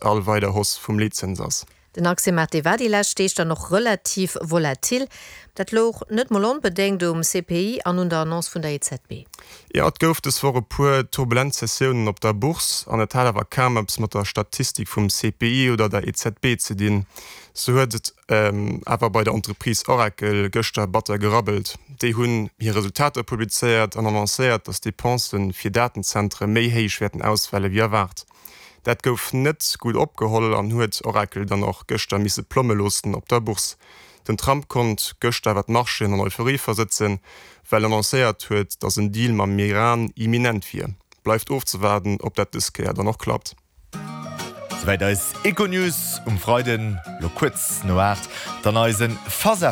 All weider Hausse vum Leetzëns ass. Den Aktiemaart dee war déi lescht Deeg dann och relativ volatil. Dat louch net mol onbedéngt um CPI an un der Annonce vun der EZB. Jo, et gouf dës Woch e puer turbulent Sessiounen op der Bourse an et hat awer kaum eppes mat der Statistik vum CPI oder der EZB ze dinn. Sou huet et awer bei der Entreprise Oracle gëschter batter gerabbelt. Déi hunn hir Resultater publizéiert an annoncéiert, datt d'Depense fir Datenzentere méi héich wäerten ausfale wéi erwaart. Dat gouf net gutt opgeholl an huet Oracle dann och gëschter misse plomme loossen op der Bourse. Den Trump konnt gëschter awer d'Marchéen an Euphorie versëtzen, well en annoncéiert huet, datt en Deal mam Iran imminent wier. Bleift ofzewaarden, ob dat dës Kéier dann och klappt. Souwäit eis Econews um Freiden, lo kuerz no 8, dann eisen Face à.